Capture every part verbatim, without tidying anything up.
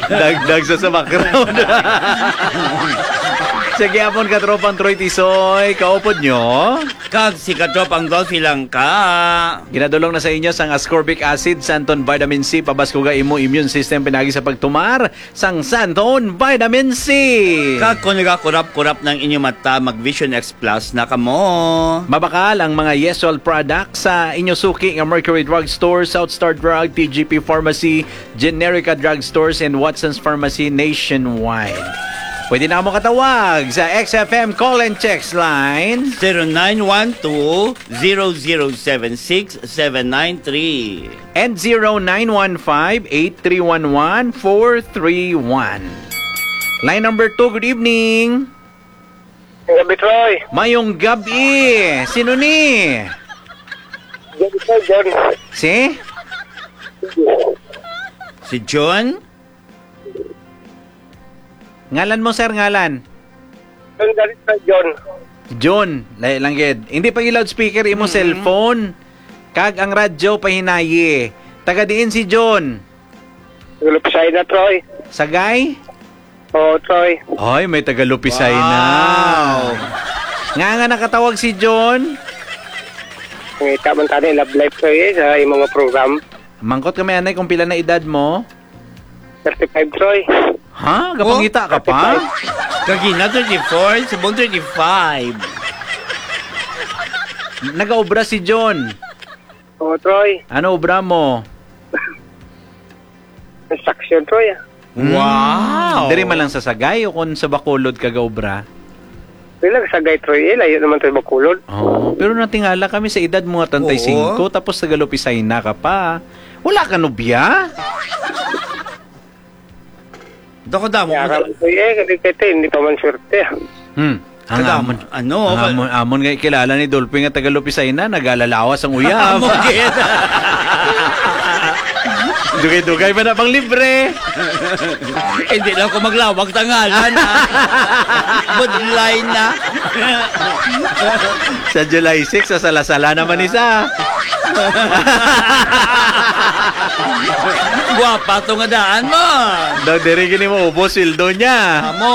Dagdag sa, sa background. Sige, apon, katropang Troy Tisoy, kaupod nyo. Kag si katropang Dolphy lang ka. Ginadulong na sa inyo sang ascorbic acid, Santon Vitamin C, pabaskuga imo immune system pinagi sa pagtumar sang Santon Vitamin C. Kag kung nagakurap-kurap ng inyo mata, mag Vision X Plus na kamo. Mabakal ang mga Yeswell products sa inyo suki nga Mercury Drug Store, South Star Drug, T G P Pharmacy, Generica Drug Stores, and Watson's Pharmacy nationwide. Pwede na mo katawag sa X F M call and text line. Zero nine one two, zero zero seven six, seven nine three. And zero nine one five, eight three one one, four three one. Line number two, good evening. Ang gabi, Troy. Mayong gabi. Sino ni? Gabi, Troy, John. Si? Si John? Ngalan mo, sir, ngalan? John Galit, Troy, John. John, lahi lang gid. Hindi pa i-loudspeaker imo Mm. cellphone. Kag ang radyo pahinayi. Taga diin si John? Taga Lupisay na, Troy. Sagay? Oo, Troy. Ay, may taga Lupisay na. Wow. Nga nga nakatawag si John? Ngita man tani love life, Troy, eh, sa imong mga program. Mangkot kami, anay, kung pila na edad mo? Thirty-five, Troy. Ha? Gapangita ka pa? Thirty-five. Kagina, thirty-four. Subong, thirty-five. Nagaobra si John. Oo, Troy. Ano obra mo? Construction, Troy, ah. Wow. Hmm. Diri man lang sa Sagay o kung sa Bacolod ka gaobra? Diri lang sa Sagay, Troy, eh. Layo naman, Troy, Bacolod. Oh, pero natingala kami sa edad mo nga treinta y cinco, Oo. tapos taga Lupisay na ka pa. Wala ka nobya? Dako damo. Yara, Troy, eh, kasi kaya hindi pa man swerte, ah. Hmm. Ang Kadam-, amon, ano, ang ka- amon, amon nga kilala ni Dolphy nga taga Lupisay na, nagalalawas ang uyab. Amo gid. Dugay-dugay pa na pang libre. Hindi lang ko maglawag tangalan, ha? Budlay na. Sa July six, sa Salasala naman isa. Guwapa to nga daan mo. Daw diri gini mo ubos sweldo niya. Amo.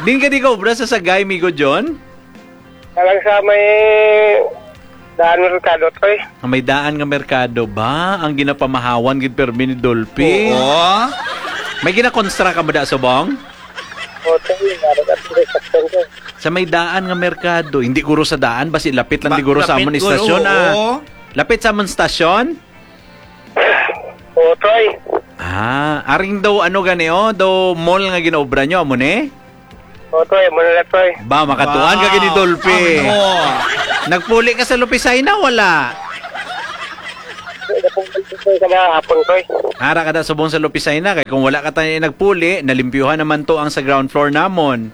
Din ka di ka obra sa Sagay, Migo John? Alang sa may daan merkado, Troy. Ang may daan nga merkado ba? Ang ginapamahawan gid permi ni Dolphy? Oo. May ginakonstruct ka mo da, Subong? Oo, Troy. Meron at construction ko. Sa may daan nga merkado, hindi guro sa daan, basi lapit lang Ba-, di guro sa lapit amon guro, istasyon, ah. Oo. Lapit sa amon stasyon? Oo, Troy. Ah, aring daw, ano gani, oh, daw mall nga ginaobra nyo, amo ni? Oo, Troy, amo na lang, Troy. Ba, makatuan ka Wow. gini, Dolphy. Amo. Nagpuli ka sa Lupisay na, wala? Kada hapon, Troy. Ara ka da subong sa Lupisay na, kay kung wala ka tayo nagpuli, nalimpyuhan naman to ang sa ground floor namon.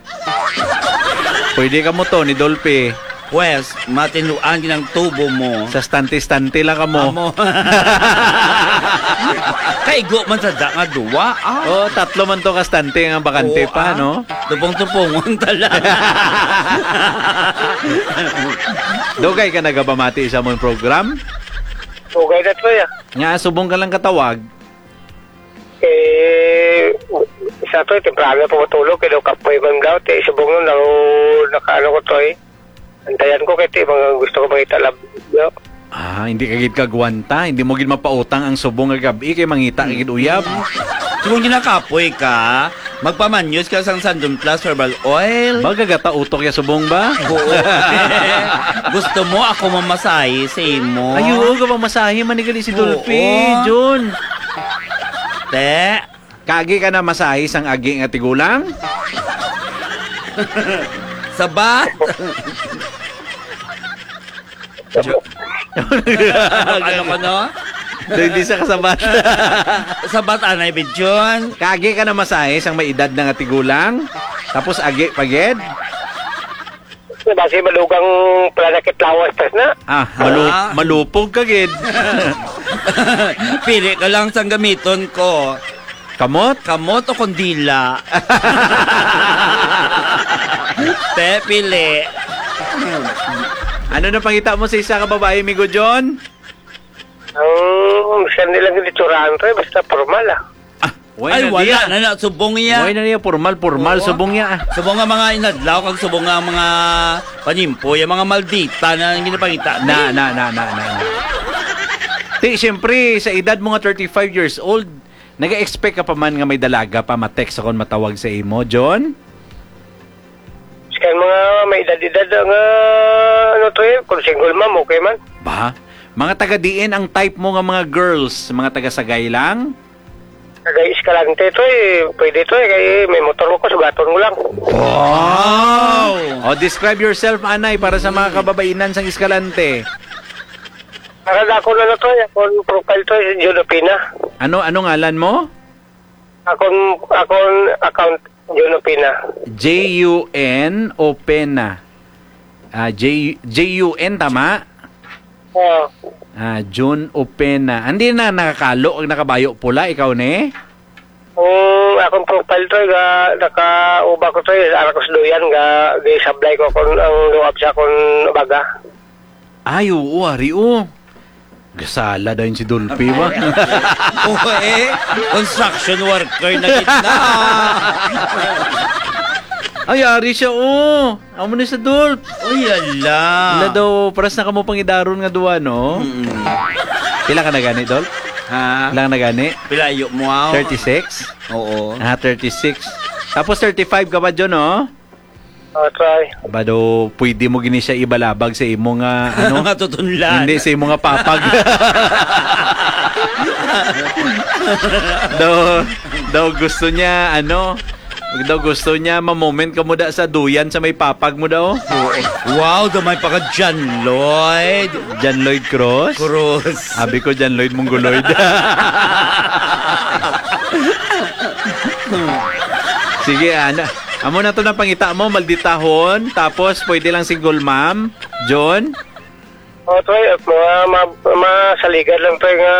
Pwede ka mo to ni Dolphy. Pwes, matinuan ginang tubo mo. Sa stante-stante lang ka mo. Amo. Kaigo man sa da nga duwa, ah. Oh, tatlo man to ka stante nga bakante Oo, pa, ah. no? Tupong-tupongon tala. Dugay ka nagabamati sa among program? Dugay na to, ya. Nga, subong ka lang katawag. Eh, sa to, temprano pa matulog, kaya daw kapoy man daw, te, subong nun, daw, nakaano ko to, eh. Antayan ko, kaya, te, mga gusto ko makita lab-, yo. Ah, hindi ka gid kagwanta, hindi mo gid mapautang ang subong nga gabi, kay mangita ka gid uyab. Subong ginakapoy ka, magpamanyos ka sang Sandon Plus Herbal Oil. Ba, gagata utok ya subong ba? Oo. Gusto mo ako mamasahe sa imo? Ay, oo, ka mamasahe, manigali si Oo. Dolphy, Jun. Te. Kagi ka na masahi sang agi nga tigulang? Sabat. Jo-, ano ka, no? Hindi sa kasabat. Sabat, anay, Bidyon. Kagi ka na masahi sang may edad na nga tigulang? Tapos agi pa gid? Basi madugang pala nakit lawas tas na. Ah, malu-, Ah. malupog ka gid. Pili ka lang sang gamiton ko. Kamot? Kamot o kondila? Te, pili. Ano na pangita mo sa isa ka babae, Migo John? Ang Sa nilang gitsurahan, Toy, basta formal, ah. Ah, way Ay, na wala diya. na na. Subong iya. Way na niya, formal, formal, Oo. subong iya, ah. Subong nga mga inadlaw, kag subong nga mga panimpo, yung mga maldita na ang ginapangita. Na, na, na, na, na, na. Ti, siyempre, sa edad mo nga thirty-five years old, nag-expect ka pa man nga may dalaga pa ma-text akon matawag sa imo, John? Sa mga may edad-edad nga, ano to eh, kung single mom, okay man. Ba? Mga taga diin ang type mo nga mga girls, mga taga Sagay lang? Taga Escalante to eh, pwede to eh, kay may motor ko, sugaton mo lang. Wow! O, describe yourself, anay, para sa mga kababainan sang Escalante. Para sa akon, ano to eh, akon profile to eh, Jodopina. Ano, ano ngalan mo? Akon, akon account, Jodopina. J U N o Pena? Ah, J, J U N, tama? Oo. Ah, Jun Opena. Hindi na nakakalo ang nakabayo pula, ikaw ni? Ang akong profile to, ga, nakauba ko to, eh, ara ko sa duyan, ga, gisablay ko kung ang luwab sa akong baga. Ay, oo, ari, oh. Gasala dayon si Dolphy, ba? Oo, eh. Construction worker na gid na. Ay, ari siya, oh. Amo ni sa Dolph. Uy, ala. Wala daw, paras na kamo pangidaron nga duwa, no? Mm. Pila ka na gani, Dolph? Ha? Pila ka na gani? Pilayo mo, ah. Thirty-six? Oo. Ah, thirty-six. Tapos thirty-five ka ba, John, oh? Oh, try. Ba daw, pwede mo gini siya ibalabag sa imo nga, ano? Nga tutunlan. Hindi, sa imo nga papag. Daw, daw gusto niya, ano? Daw gusto niya, ma-moment ka mo da sa duyan sa may papag mo daw. Wow, gamay pa ka, John Lloyd. John Lloyd Cruz? Cruz. Abi ko, John Lloyd Mongoloid. Sige, ana. Amo na to na pangita mo, malditahon. Tapos, pwede lang single mom. John? Oh, to, eh, mga ma-, masaligan lang to, eh, nga,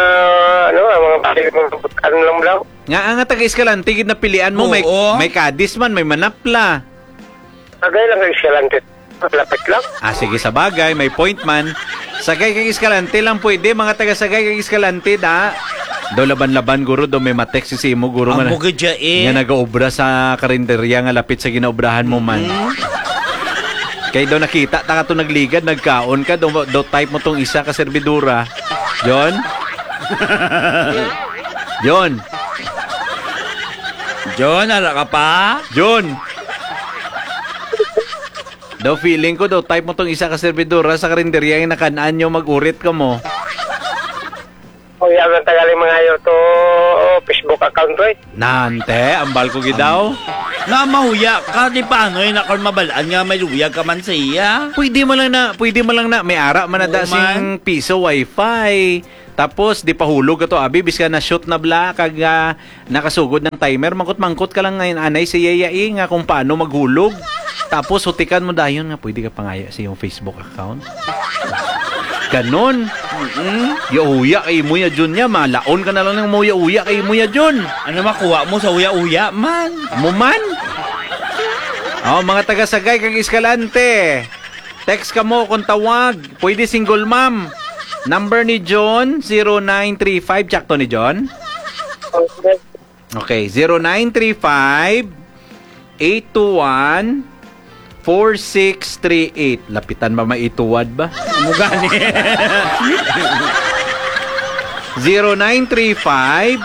ano, ah, mga, mga, ano lang daw. Nga, nga taga Escalante, gid napilian mo, may, Oo. may Cadiz man, may Manapla. Sagay lang kay Escalante. Lapit lang. Ah, sige, sa bagay, may point man. Sagay kag Escalante lang pwede, mga taga Sagay kag Escalante, da. Daw laban-laban, guro, daw may matext si imo, guro, nga Amo na-, gid siya, eh. nga nagaobra sa karinderya nga lapit sa ginaobrahan mo man. Mm. Kay daw nakita ta kato nagligad, nagkaon ka, daw, daw type mo tong isa ka servidora. John? John? John, ara ka pa? John! Daw feeling ko, daw type mo tong isa ka servidora sa karinderya nga nakan-an nyo, mag-urit ka mo. O, yan ang tagali mga ayo to Facebook account ko eh. Nante, ambal ko gid daw. Nga mahuya ka, di paano yun ako mabalaan nga may luyag ka man sa iya? Pwede man lang na, pwede man lang na, may ara man na Oo da man. sing piso wifi. Tapos, di pahulog ka to, abi, bis ka na-shoot na bla, kag, ah, nakasugod ng timer, mangkot-mangkot ka lang ngayon, anay, sa yayai nga kung paano maghulog. Tapos, hutikan mo dayon nga pwede ka pangaya sa iyong Facebook account. Ganon. Mm-mm. Yauya kay mo ya, Jun, ya. Malaon ka na lang ng mo yauya kay mo ya, Jun. Ano makuha mo sa uya-uya man? Mo man? Oh, mga taga Sagay kag Escalante. Text ka mo kung tawag. Pwede single mom. Number ni John, zero nine three five. Tsakto ni John? Okay, zero nine three five, eight two one, four six three eight. Lapitan ba maituwad ba? Amo gani. Zero nine three five,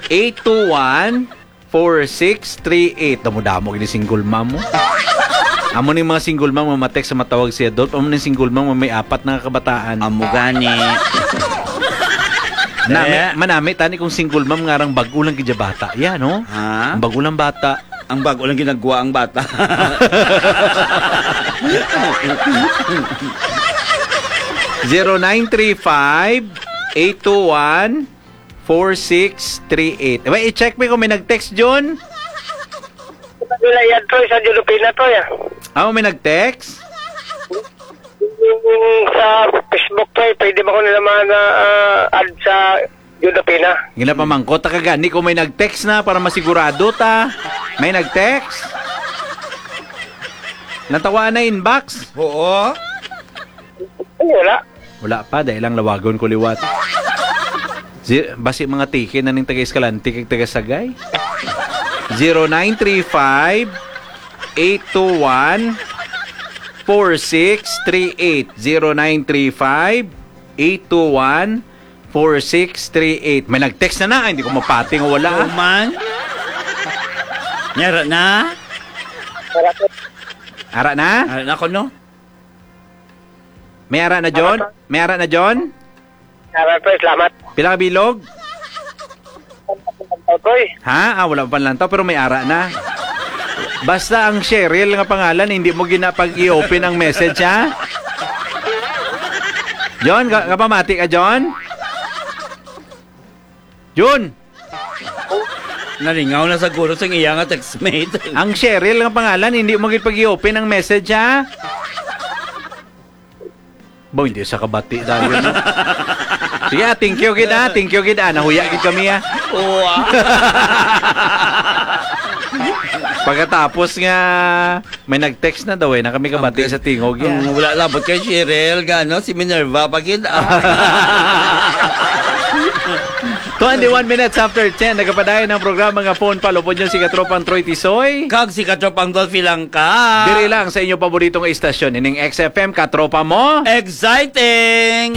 eight two one, four six three eight. Damo-damo gini single mom mo. Amo ni mga single mom nga matext sa matawag si Adolf. Amo ni single mom nga may apat na nga kabataan. Amo gani. Nami, Eh. manami tani kung single mom nga rang bag-o lang gid ya bata. Ya, no? Ha? Ang bag-o lang bata. Ang bag-o lang ginagawa ang bata. Zero nine three five, eight two one, four six three eight. Wait, i-check mo kung may nag-text, Jun. Nila yan, Troy, sa Jolopina, Troy, ah. Ah, may nag-text? Yung sa Facebook, Troy, pwede ba ko nila man, ah, ah, add sa Jolopina? Ginapamangkot ta ka gani kung may nag-text na para masigurado ta. May nag-text? Natawa na inbox? Oo. Ay, wala. Wala pa, dahil lang lawagon ko liwat. Zi-, basi mga tiki na ning taga-Escalante kag taga-Sagay. Zero nine three five, eight two one, four six three eight. Zero nine three five, eight two one, four six three eight. May nag-text na na. Ay, hindi ko mapati nga wala, ah. Human? Nyara na? Ara na? Ara na ko, no? May ara na, John? May ara na, John? Ara, pre, salamat. Pila ka bilog? Oy. Ha? Ah, wala pa lantaw, pero may ara na. Basta ang Cheryl nga pangalan, hindi mo ginapag-i-open ang message, ha? John, ka kapamati ka, John? John! Nalingaw na sa guro sang iya nga textmate. Ang Cheryl nga pangalan, hindi mo gid pag-i-open ang message, ha? Bo, hindi sa kabati tayo, no? Sige, ah, thank you gid, ah. Thank you gid, ah. Nahuya gid kami, ah. Oo, ah. Pagkatapos nga, may nag-text na daw, eh, na kami kabati Ang sa tingog, ang yan. Wala labot kay Cheryl, gano, si Minerva, pa gid, ah. Twenty-one minutes after ten, nagapadayon ang programa nga Phone Pal. Upod nyo si Katropang Troy Tisoy. Kag si Katropang Dolphy lang ka. Diri lang sa inyo paboritong istasyon, ining X F M, Katropa mo. Exciting!